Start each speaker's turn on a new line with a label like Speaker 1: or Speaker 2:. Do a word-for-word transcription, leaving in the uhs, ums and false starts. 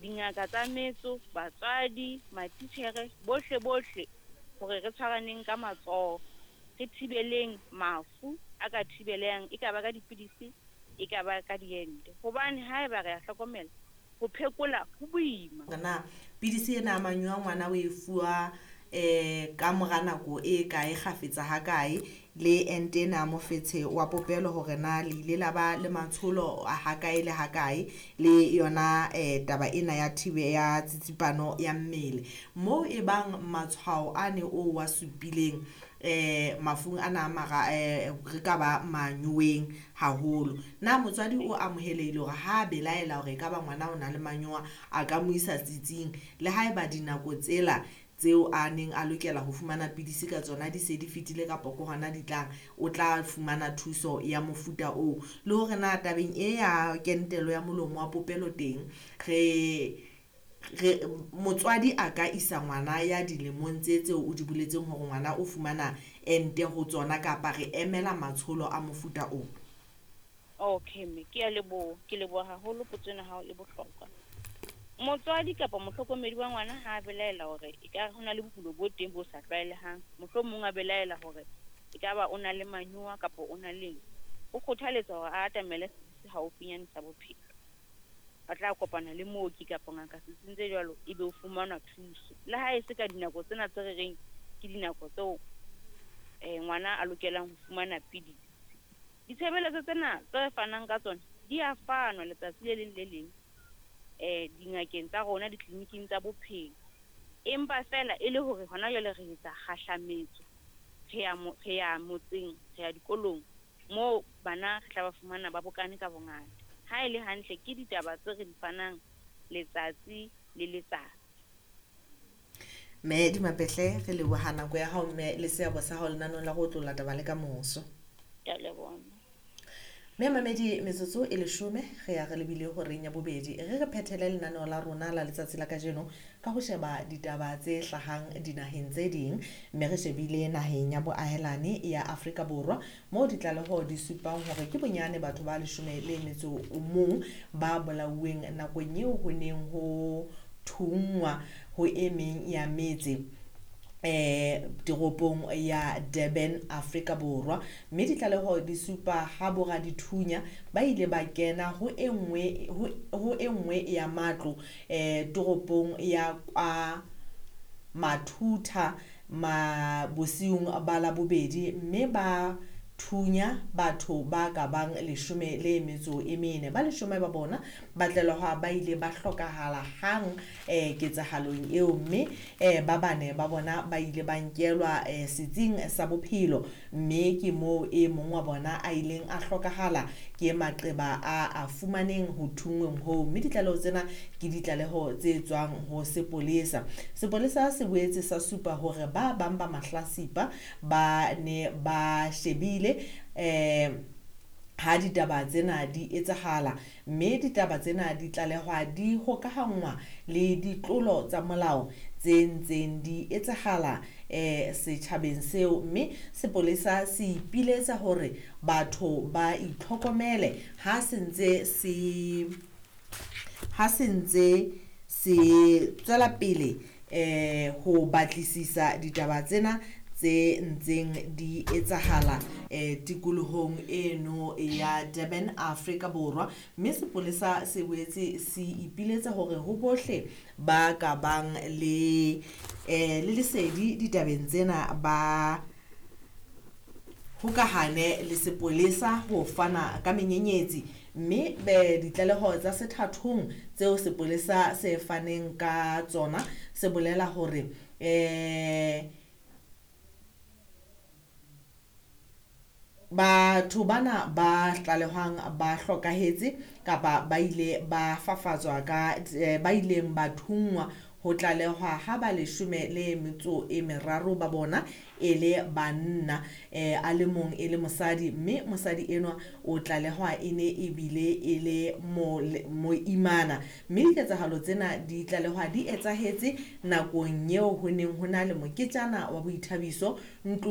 Speaker 1: dingaka tsa metso, batswadi, matitjhere, bohle bohle hore re tshwaraneng ka matsoho, re thibeleng mafu a ka thibelehang, e ka ba ka dipidisi, e ka ba ka diente. Hobane haeba re a hlokomela, ho phekola ho boima.
Speaker 2: Na pidisi ena ya manyowa ngwana o e fuwa eh ka mora nako e kae, kgafetsa ha kae, le ente ena ya mofetshe wa popelo hore na le ile la ba le matsholo ha kae le ha kae, le yona eh taba ena ya thibe ya tsitsipano ya mmele moo e bang matshwao a ne o wa supileng eh mafung ana mara eh re ka ba manyoweng haholo. Na motswadi o amohelehile hore ha belaela hore ekaba ngwana o na le manyowa a ka mo isa tsitsing le haeba dinako tsela tseo a neng a lokela ho fumana pidisi ka tsona di se di fetile kapa ke hona di tlang, o tla fumana thuso ya mofuta oo? Le hore na tabeng e ya kentelo ya molomo wa popelo teng, re re motswadi a ka isa ngwana ya dilemong tse tseo o di boletseng hore ngwana o fumana ente ho tsona, kapa re emela matsholo a mofuta oo?
Speaker 1: Okay mme, ke a leboha, ke leboha haholo potso ena hao e bohlokwa. Motswadi kapa mohlokomedi wa ngwana ha a belaela hore ekare ho na le bokulo bo teng bo sa tlwaelehang, mohlomong a belaela hore ekaba o na le manyowa kapa o na le eng, o kgothaletswa hore a atamele setsi se haufinyane sa bophelo. A tla kopana le mooki kapa ngaka setsing tse jwalo, ebe o fumana thuso. Le ha e se ka dinako tsena tse re reng ke dinako tseo eh ngwana a lokelang ho fumana pidisi. Ditshebeletso tsena tse re fanang ka tsona di a fanwa letsatsi le leng le leng eh dingakeng tsa rona, ditleliniking tsa bophelo. Empa feela e le hore hona jwale re etsa kgahlametso, re ya re ya motseng, re ya dikolong moo bana re tla ba fumana ba bokane ka bongata. Ha e le hantle ke ditaba tse re di fanang letsatsi le letsatsi.
Speaker 2: Mme Dimapehle, re leboha nako ya hao mme le seabo sa hao lenaneong la ho otlolla taba le ka moso.
Speaker 1: Ke a leboha.
Speaker 2: Mme mamedi, metsotso e leshome re ya re lebile horeng ya bobedi. Re re phethele lenaneo la rona la letsatsi la kajeno ka ho sheba ditaba tse hlahang dinaheng tse ding, mme re shebile naheng ya boahelane ya Afrika Borwa moo ditlaleho di supang hore ke bonyane batho ba leshome le metso o mong ba bolauweng nakong eo ho neng ho thunngwa ho e meng ya metse eh toropong ya Durban, Afrika Borwa. Mme ditlaleho di supa ha boradithunya ba ile ba kena ho e nngwe ho e nngwe ya matlo eh toropong ya kwa Mathutha ma bosiung ba Labobedi, mme ba thunya batho ba ka bang leshome le metso e mene. Ba leshome ba bona ba tlalehwa ba ile ba hlokahala hang eh ketsahalong eo, mme eh ba bane ba bona ba ile ba nkelwa eh setsing sa bophelo, mme ke moo e mong wa bona a ileng a hlokahala ke maqeba a a fumaneng ho thunngweng hoo. Mme ditlaleho tsena ke ditlaleho tse tswang ho sepolesa. Sepolesa se boetse sa supa hore ba bang ba mahlasipa ba ne ba shebile eh ha ditaba tsena di etsahala, mme ditaba tsena di tlalehwa di hokahanngwa le ditlolo tsa molao tse ntseng di etsahala eh setjhabeng seo. Mme sepolesa se ipiletsa hore batho ba itlhokomele ha se ntse se ha se ntse se tswela pele eh ho batlisisa ditaba tsena tse ntseng di etsahala eh tikolohong eno ya Durban, Afrika Borwa. Mme sepolesa se boetse se ipiletsa hore ho bohle ba ka bang le eh le lesedi ditabeng tsena ba hokahane le sepolesa ho fana ka menyenyetsi. Mme be ditlaleho tsa sethathong tseo sepolesa se faneng ka tsona se bolela hore eh batho bana ba tlalehwang ba hlokahetse kapa ba ile ba fafatswa ka ba ileng ba thunngwa ho tlalehwa ha ba leshome le metso e meraro ba bona e le banna, eh a le mong e le mosadi, mme mosadi enwa o tlalehwa e ne ebile e le moimana. Mme diketsahalo tsena di tlalehwa di etsahetse nakong eo ho neng ho na le moketjana wa boithabiso ntlo.